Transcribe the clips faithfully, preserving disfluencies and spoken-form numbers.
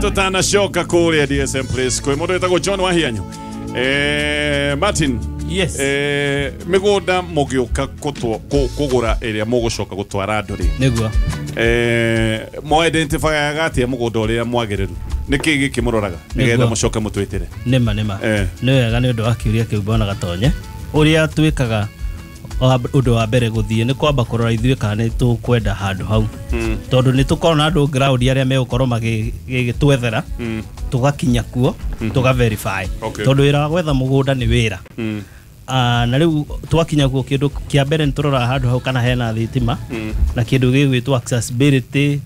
Tutanacoka kũrĩa D S M Place kwĩ mũndũ wĩtagwo John Wahianyu. Eh, Martin. Yes. Eh, mĩgũnda mũgĩũka kũgũra ĩrĩa mũgũcoka gũtwara andũ rĩ. Nĩguo. Eh, mo identifyaga atĩa mũgũnda ũrĩa mwagĩrĩru? Nĩkĩ gĩkĩ mũroraga nĩgetha mũcoke mũtwĩtĩre? Nĩma nĩma. Eh. Nĩ wega nĩ ũndũ wa kĩũria kĩu bwana Gatonye. Ũrĩa twĩkaga ũndũ wa mbere gũthiĩ nĩ kwamba kũrora ithuĩ kana nĩ tũkwenda handũ hau. Mm. Tondũ nĩ tũkorwo na andũ ground arĩa megũkorwo magĩtwethera, mm. tũgakinya kuo, mm. tũga verify. Okay. Tondũ wĩra wa gwetha mũgũnda nĩ wĩra. Mm. Ah, na rĩu twakinya kuo kĩndũ kĩa mbere nĩ tũroraga handũ hau kana hena thitima, mm. na kĩndũ gĩgwĩtwo accessibility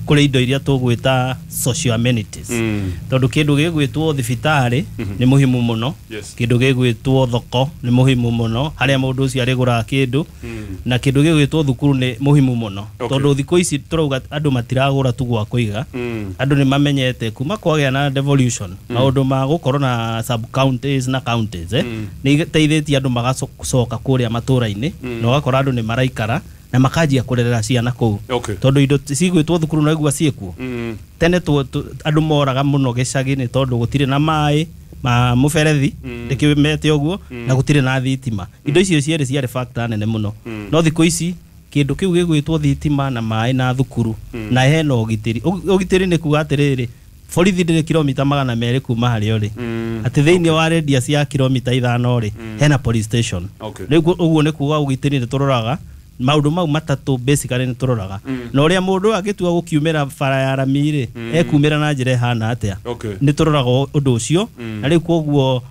kũrĩ indo iria tũgwĩta social amenities. Mm. Tondũ kĩndũ gĩgwĩtwo thibitarĩ mm -hmm. nĩ muhimu mũno. Yes. Kĩndũ gĩgwĩtwo thoko nĩ muhimu mũno harĩa mũndũ ũcio arĩgũraga kĩndũ, mm. na kĩndũ gĩgwĩtwo thukuru nĩ muhimu mũno. Okay. Tondũ thikũ ici tũrauga andũ matiragũra tu gwa kũiga, mm. andũ nĩ mamenyete kuma kwagĩa na devolution, mm. maũndũ ma gũkorwo na sub counties na counties, eh? mm. nĩ iteithĩtie andũ magacoka kũrĩa matũra-inĩ, mm. na ũgakora andũ nĩ maraikara na makanjia kũrerera ciana kũu. Okay. Tondũ indo cigwĩtwo thukuru no igua ciĩkuo. Mm. Tene andũ moraga mũno gĩcagi-inĩ tondũ gũtirĩ na maĩ ma mũberethi, mm. ndĩkĩmete ũguo, mm. na gũtirĩ na thitima. Indo icio cierĩ ciarĩ factor nene mũno. Mm. No thikũ ici kĩndũ kĩu gĩgwĩtwo thitima na maĩ na thukuru, mm. na hena ũgitĩri. Ũgitĩri nĩ kuga atĩrĩrĩ, borithi ndĩrĩ kilomita magana merĩ kuma harĩa ũrĩ. Mm. Atĩ thĩinĩ wa radius ya kilomita ithano rĩ, mm. hena police station. Okay. Rĩu ũguo nĩ kuga ũgitĩri nĩ tũroraga maũndũ mau matatũ basically nĩ tũroraga. Mm. Na ũrĩa mũndũ agĩtua gũkiumĩra bara ya rami rĩ, mm. ekumĩra na njĩra ĩhana atĩa. Okay. Nĩ tũroraga ũndũ ũcio, mm. na rĩu koguo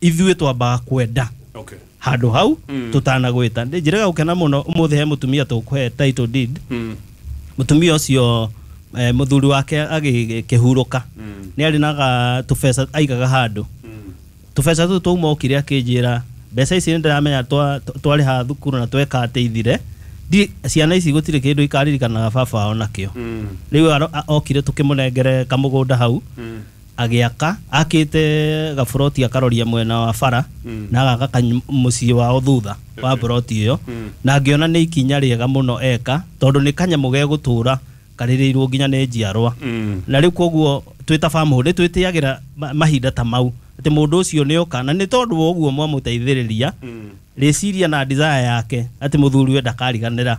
ithuĩ twambaga kwenda Okay. handũ hau, mm. tũtanagwĩta. Njĩrega gũkena mũno ũmũthĩ he mũtumia tũkũhe title deed. Mm. Mũtumia ũcio eh, mũthuri wake agĩkĩhurũka, mm. nĩ arĩ na tũbeca aigaga handũ. Mm. Tũbeca tũtũ twauma okire akĩnjĩra mbeca ici nĩndĩramenya twarĩha thukuru na tweka atĩ ithire, ndi ciana ici gũtirĩ kĩndũ ikaririkanaga baba wao nakĩo. Mm. Rĩu okire tũkĩmũnengere kamũgũnda hau, mm. agĩaka akĩte gaburoti akaroria mwena wa bara, mm. na agaka mũciĩ wao thutha wa buroti ĩyo, mm. na ngĩona nĩ ikinya rĩega mũno eka tondũ nĩ kanyamũ gegũtũra karĩrĩirwo nginya nĩ njiarwa. Mm. Na rĩu koguo twĩ ta family twĩtĩagĩra mahinda ta mau atĩ mũndũ ũcio nĩ oka, na nĩ tondũ wa ũguo mwamũteithĩrĩria, mm. rĩciria na desire yake atĩ mũthuri we ndakariganĩra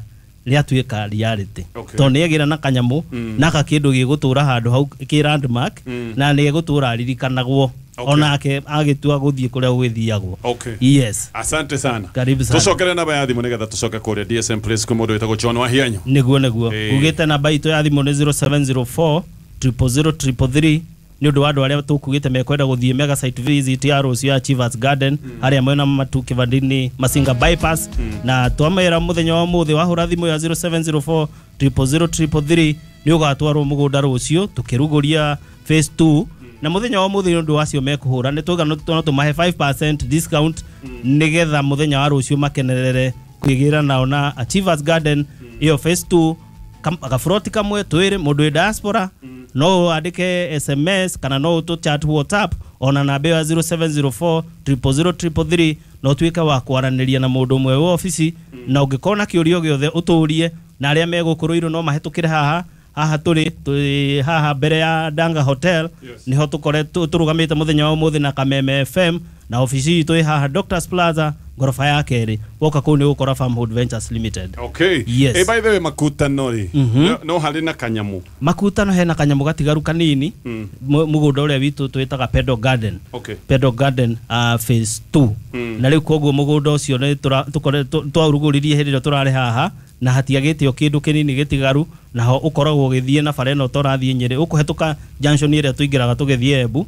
rĩatuĩka reality. Okay. Tondũ nĩ agĩra na kanyamũ, mm. na gakĩndũ gĩgũtũra handũ hau kĩ landmark, mm. na nĩ egũtũra aririkanagwo. Okay. Onake agĩtua gũthiĩ kũrĩa gũgĩthiagwo. Okay. Yes. Asante sana. Karibu sana. Tũcokere namba ya thimũ nĩgetha tũcoke kũrĩa D S M Place kwĩ mũndũ wĩtagwo John Wahianyu. Nĩguo nĩguo. Eh. Ugĩte namba itũ ya thimũ nĩ zero seven zero four triple zero triple three nĩ ũndũ wa andũ arĩa tũkugĩte mekwenda gũthiĩ mega site visit ya rũciũ ya Achievers Garden, mm. harĩa mwena Matu Kivandini Masinga bypass, mm. na twamera mũthenya wa ũmũthĩ wahũra thimũ ya zero seven zero four triple zero triple three nĩ ũgatwarwo mũgũnda rũciũ tũkĩrugũria phase two, na mũthenya wa ũmũthĩ nĩ ũndũ wacio mekũhũra nĩ tũga no tũmahe five percent discount, mm. nĩgetha mũthenya wa rũciũ makenerere kwĩgĩra nao na Achievers Garden ĩyo phase two, gaburoti kamwe twĩrĩ mũndũ wĩ diaspora, mm. no andĩke S M S kana no tũ chat WhatsApp ona namba ya zero seven zero four triple zero triple three no tuĩke wa kwaranĩria na mũndũ ũmwe wa obici, mm. na ũngĩkorwo na kĩũria gĩothe ũtũrie, na arĩa megũkũrũirwo no mahĩtũkĩre haha haha tũrĩ tũrĩ haha mbere ya Danga Hotel, Yes. niho tũkoretwo tũrũgamĩte mũthenya wa ũmũthĩ na Kameme F M, na obici itũ ĩ haha Doctors Plaza ngoroba ya kerĩ. Woka kũu nĩ ũgũkora Farmhold Ventures Limited. Okay. Yes. Eh, by the way makutano rĩ, mm -hmm. no, no harĩ na kanyamũ. Makutano hena kanyamũ gatigaru kanini, mm. mũgũnda ũrĩa witũ twĩtaga Pedal Garden. Okay. Pedal Garden uh, phase two. Mm. Na rĩu koguo mũgũnda ũcio nĩ tũkoretwo twaurugũririe hĩndĩ ĩrĩa tũrarĩ haha, na hatiagĩte o kĩndũ kĩnini gĩtigaru, naho ũkoragwo ũgĩthiĩ na bara ĩno tũrathiĩ Nyĩrĩ, ũkũhetũka junction ĩrĩa tũingĩraga tũgĩthiĩ Embu,